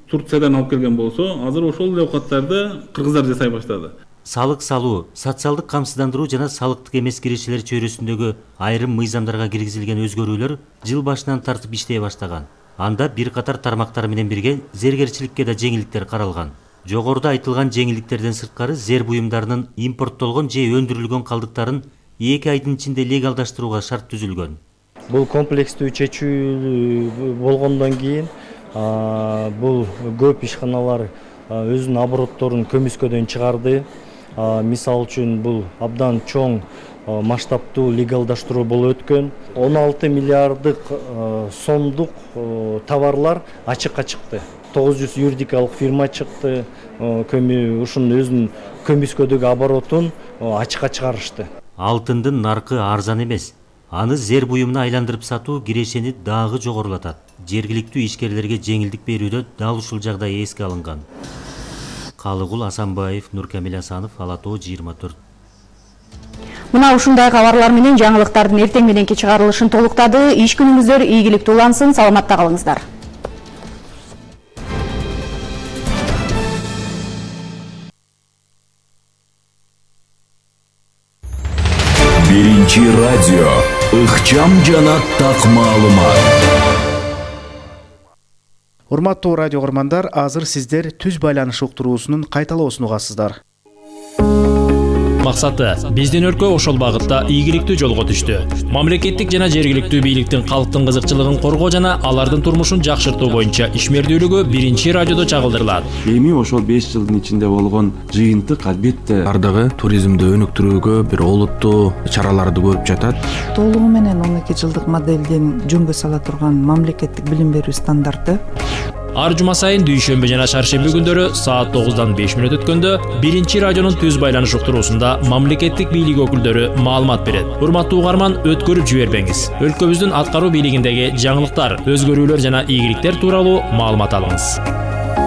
Турциядан алып келген болсо, азыр ошол эле оокаттарды кыргыздар жасай баштады. Салык салуу, социалдык камсыздандыруу жана салыктык эмес киришелер чөйрөсүндөгү айрым мыйзамдарга киргизилген өзгөрүүлөр жыл башынан тартып иштей баштаган. Анда бир катар тармактар менен бирге зергерчиликке да жеңилдиктер каралган. Жогоруда айтылган жеңилдиктерден сырткары зер буюмдарынын импорттолгон же өндүрүлгөн калдыктарын 2 айдын ичинде легалдаштырууга шарт түзүлгөн. Бул комплекстүү чечүү болгондон кийин бул көп ишканалар өзүнүн оборотторун көмүскөдөн чыгарды. Мисал үчүн бул абдан чоң масштабтуу легалдаштыруу болуп өткөн. 16 миллиарддык сомдук товарлар ачыкка чыкты. 900 юридикалык фирма чыкты. Ушунун өзүнүн көмүскөдөгү оборотун ачыкка чыгарышты. Алтындын наркы арзан эмес. Аны зер буюмуна айландырып сатуу кирешени дагы жогорулатат. Жергиликтүү ишкерлерге жеңилдик берүүдө дал ушул жагдай эске алынган. Калыгул Асанбаев, Нуркамил Асанов, Ала Тоо 24. Мына ушундай кабарлар менен жаңылыктардын эртең мененки чыгарылышын толуктады. Иш күнүңүздөр ийгиликтүү улансын, саламатта калыңыздар. Биринчи радио ыкчам жана так маалымат. Урматтуу радио көрмандар, азыр сиздер түз байланыш уктуруусунун кайталоосун угасыздар. Максаты биздин өлкө ошол багытта ийгиликтүү жолго түштү. Мамлекеттик жана жергиликтүү бийликтин калктын кызыкчылыгын коргоо жана алардын турмушун жакшыртуу боюнча ишмердүүлүгү биринчи радиодо чагылдырылат. Эми ошол 5 жылдын ичинде болгон жыйынтык албетте бардыгы туризмди өнүктүрүүгө бир олуттуу чараларды көрүп жатат. Толугу менен 12 жылдык моделден жөнгө сала турган мамлекеттик билим берүү стандарты. Ар жума сайын дүйшөмбү жана шаршемби күндөрү саат 9-дан 5 мүнөт өткөндө биринчи радионун түз байланыш уктуруусунда мамлекеттик бийлик өкүлдөрү маалымат берет. Урматтуу угарман, өткөрүп жибербеңиз. Өлкөбүздүн аткаруу бийлигиндеги жаңылыктар, өзгөрүүлөр жана ийгиликтер тууралуу маалымат алыңыз.